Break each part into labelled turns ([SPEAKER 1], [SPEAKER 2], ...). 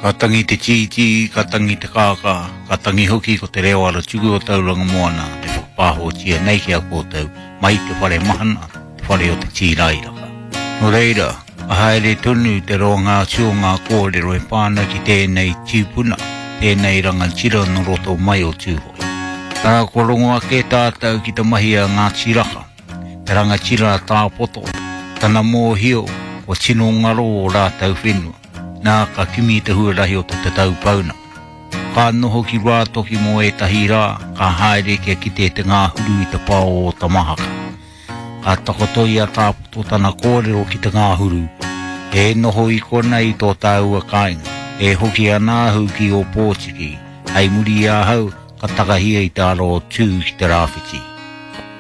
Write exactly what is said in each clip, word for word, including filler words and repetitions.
[SPEAKER 1] Ka tangi te tītī, ka tangi te kākā, ka tangi hoki ko te reo ara tuku o Tauranga Moana e whakapāhotia nei ki a koutou mai te whare mahana, te whare o te tīrairaka. Nō reira, ka haere tonu te roanga atu o ngā kōrero e pāna ki tēnei tīpuna, tēnei rangatira nō roto mai o Tūhoe. Tā kua rongo ake tātou ki te mahi a Ngāti Raka, te rangatira a Tāpoto, tana mōhio, kua tino ngaro o rātou whenua. Nā ka kimi te huarahi o te tatau pauna. Ka noho ki Ruatoki mō ētahi rā, ka haere kia kite te ngāhuru i te pao o Tamahaka. Ka takoto i a Tāpoto tana kōrero ki te ngāhuru, e noho i kona i tō tāua kāinga, e hoki ana ahu ki Ōpōtiki, hei muri i ahau ka takahia i te ara o Tū ki te rāwhiti.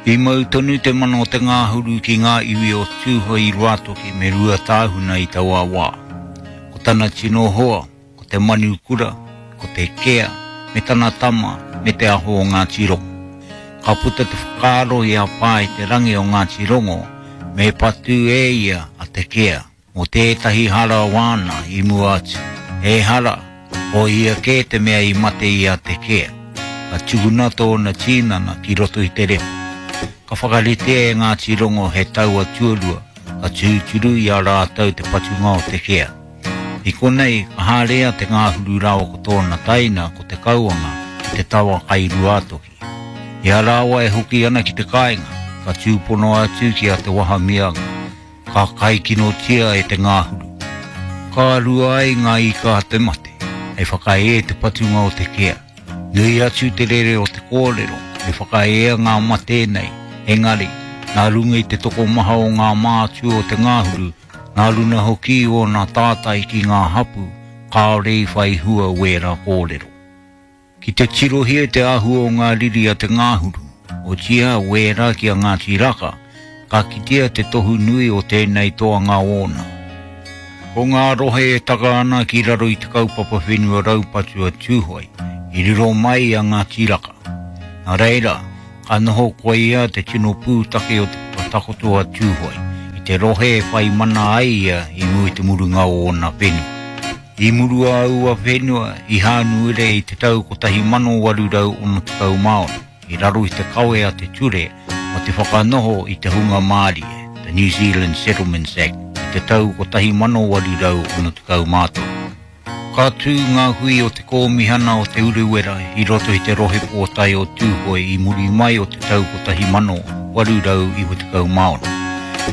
[SPEAKER 1] I mau tonu te mana o te ngāhuru ki ngā iwi o Tūhoe i Ruatoki me Ruatāhuna i taua wā. Ko tana tino hoa, ko te manukura, ko te kea, me tana tama, me te aho o Ngāti Rongo. Ka puta te whakaaro i a Pā i te rangi o Ngāti Rongo, me patu e ia a te kea, mō tētahi hara wāna i mua atu. E hara, ko ia kē te mea i mate i a te kea. Ka tukuna tōna tīnana ki roto i te repo. Ka whakaritea e Ngāti Rongo he taua tuarua, ka tūturu i a rātou te patunga o te kea. I konei, ka haere a te ngāhuru rāua ko tōna taina ko te kauanga ki te tawa kai Ruatoki. I a rāua e hoki ana ki te kāinga, ka tūpono atu ki a Te Wahamianga, ka kaikinotia e te ngāhuru. Ka rua ai ngā ika a te mate, hei whakae te patunga o te kea. Nui atu te rere o te kōrero, me whakaea ngā mate nei, engari, nā runga i te tokomaha o ngā mātua o te ngāhuru, nā runa hoki o nā tātai ki ngā hapu, kāore i whai hua wēra kōrero. Ki te tirohia te āhua o ngā riri a te ngāhuru, o tia wēra ki a Ngāti Raka, ka kitea te tohu nui o tēnei toanga ōna. Ko ngā rohe e taka ana ki raro i te kaupapa whenua raupatu a Tūhoe, i riro mai a Ngāti Raka. Nā reira, ka noho koe ia te tino pūtake o te whakatakoto a Tūhoe, i te rohe e whai mana ai ia i mua i te murunga o ōna whenua. I murua aua whenua i Hānuere i te tau kotahi mano waru rau ono tekau māori, i raro i te kawe a te ture o te whakanoho i te hunga Mārie, the New Zealand Settlements Act, i te tau kotahi mano waru rau ono tekau mātoru. Ka tū ngā hui o te kōmihana o Te Urewera i roto i te rohe pōtae o Tūhoe i muri mai o te tau kotahi mano waru rau iwa tekau māori.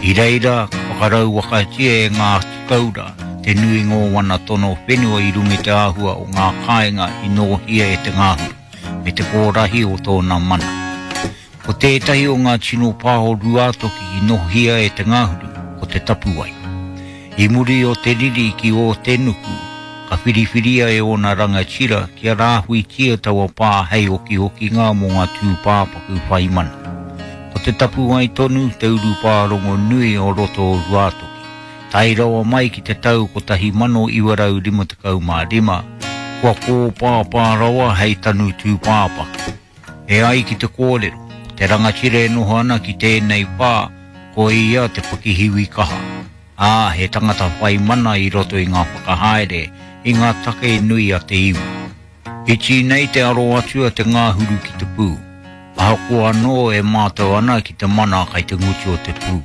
[SPEAKER 1] I reira, ka whakarauwakatia e ngā tikaura te nui ngō wana tono whenua i runga i te āhua o ngā kāinga i nōhia e te ngāhuru, me te kōrahi o tōna mana. Ko tētahi o ngā tino pā o Ruatoki i nōhia e te ngāhuru, ko te tapuwai. I muri o te riri ki o te nuku, ka whiriwhiria e ōna rangatira kia rāhuitia taua pā hei okiokinga mō ngā tūpāpaku whai mana. Ko te tapuwai tonu te urupā rongonui o roto o Ruatoki. Tai rawa mai ki te tau kotahi mano iwa rau rima tekau mā rima, kua kōpāpā rawa hei tanu tūpāpaku. E ai ki te kōrero, ko te rangatira e noho ana ki tēnei pā, ko ia te pakihiwi kaha. Ā, he tangata whai mana i roto i ngā whakahaere, i ngā take nui a te iwi. Iti nei te aro atu a te ngāhuru ki te pū. Ahakoa anō e mātau ana ki te mana kai te ngutu o te pū.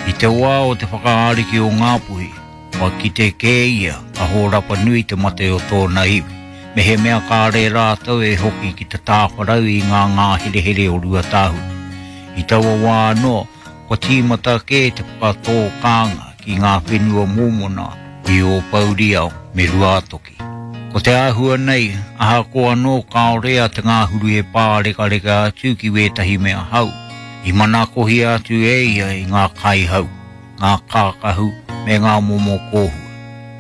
[SPEAKER 1] I te wā o te whakaariki o Ngāpuhi, kua kite kē ia ka hōrapa nui te mate o tōna iwi. Me he mea kāre rātou e hoki ki te tāwharau i ngā ngāherehere o Ruatāhuna. I taua wā anō, kua tīmata kē te whakatō kānga ki ngā whenua mōmona i Ōpouriao me Ruatoki. Ko te āhua nei, ahakoa anō kāore a te ngāhuru e pārekareka atu ki wētahi mea hau, i manakohia atu e ia i ngā kaihau, ngā kākahu me ngā momo kōhua.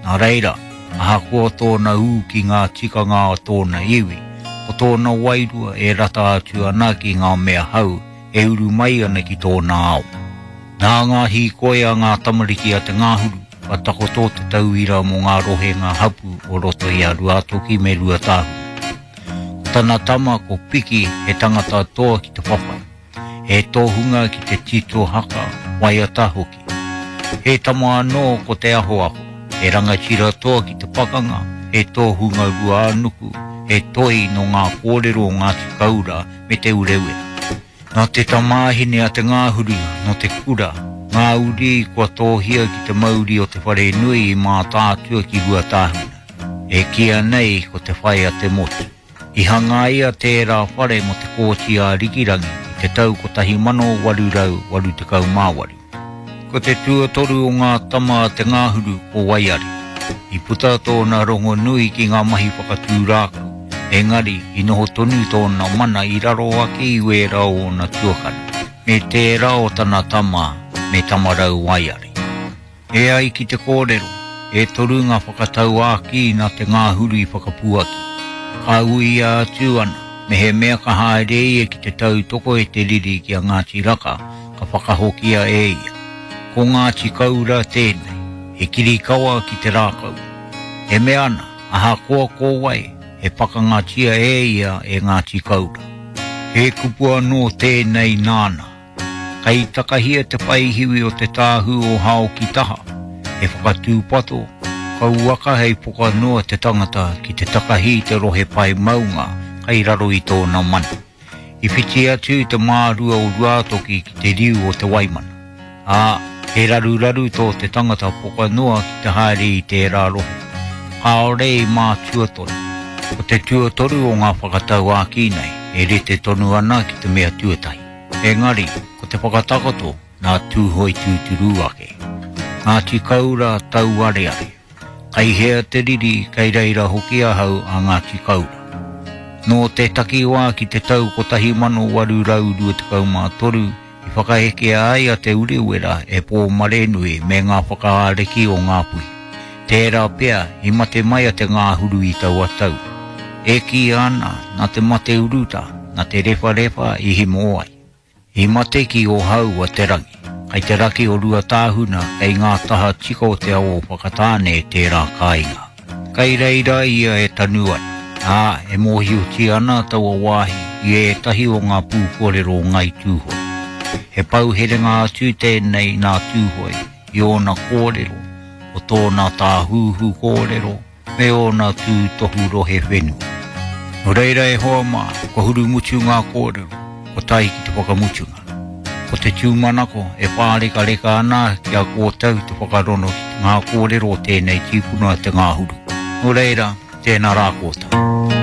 [SPEAKER 1] Nā reira, ahakoa tōna ū ki ngā tikanga o tōna iwi, ko tōna wairua e rata atu ana ki ngā mea hau e uru mai ana ki tōna ao. Nā ngā hīkoi a ngā tamariki a te ngāhuru, ka takoto te tauira mō ngā rohenga hapu o roto i a Ruatoki me Ruatāhuna. Ko tana tama ko Piki he tangata toa ki te whawhai, he tohunga ki te tito haka, waiata hoki. He tama anō ko te ahoaho, he rangatira toa ki te pakanga, he tōhunga Ruānuku, he toi no ngā kōrero o Ngāti Kaura me Te Urewera. Nā te tamāhine a Te Ngāhuru, no te kura, ngā uri kua tōhia ki te mauri o te whare nui i Mātaatua ki Ruatāhuna. E kia nei ko te whai a te motu. I hangaia tērā whare mo te kōti a Rikirangi i te tau kotahi mano waru rau waru tekau mā waru. Ko te tuatoru o ngā tama a Te Ngāhuru ko Waiari. I puta tōna rongo nui ki ngā mahi whakatū rākau, engari i noho tonu tōna mana i raro ake i wērā o ōna tuakana, me tērā o tana tama me Tamarau Waiari. E ai ki te kōrero, e toru ngā whakatauākī nā Te Ngāhuru i whakapuaki. Ka uia atu ana, me he mea ka haere ia ki te tautoko e te riri ki a Ngāti Raka, ka whakahokia e ia. Ko Ngāti Kaura tēnei, he kirikawa ki te rākau. E mea ana, ahakoa ko wai, he pakangatia e ia e Ngāti Kaura. He kupu anō tēnei nāna. Kai takahia te whaihiwi o te tāhu o hao ki taha, he whakatūpato, kauaka hei poka noa te tangata ki te takahi te rohe pai maunga kai raro i tōna mana. I whiti atu te mārua o Ruātoki ki te riu o te Waimana. Ā, he raruraru tō te tangata poka noa ki te haere i tērā rohe. Kāore i mātua tonu. Ko te tuatoru o ngā whakatauākī nei, e rite tonu ana ki te mea tuatahi. Engari, ko te whakatakoto nā Tūhoe tūturu ake. Ngāti Kaura tauareare. Kai hea te riri, kai reira hoki ahau a Ngāti Kaura. Nō te takiwā ki te tau kotahi mano waru rau rua tekau mā toru, i whakahekea ai a Te Urewera e Pōmarenui me ngā whakaariki o Ngāpuhi. Tērā pea i mate mai a Te Ngāhuru i taua tau. E kī ana, nā te mate uruta, nā te rewharewha i himo ai. I mate ki o hau a te rangi, kai te raki o Ruatāhuna kei ngā taha tika o te awa o Whakatāne tērā kāinga. Kai reira ia e tanu ana, ā, e mōhiotia ana taua wāhi i ētahi o ngā pūkōrero o Ngai Tūhoe. He pauherenga atu tēnei nā Tūhoe i ōna kōrero, o tōna tāhuhu kōrero, me ōna tūtohu rohe whenua. Nō reira e hoa mā, kua hurumutu ngā kōrero, ko tae ki te whakamutunga. Ko te tūmanako e pārekareka ana ki a kōtau te whakarono ki ngā kōrero o tēnei tīpuna Te Ngāhuru. Nō reira, tēnā rā kōtau.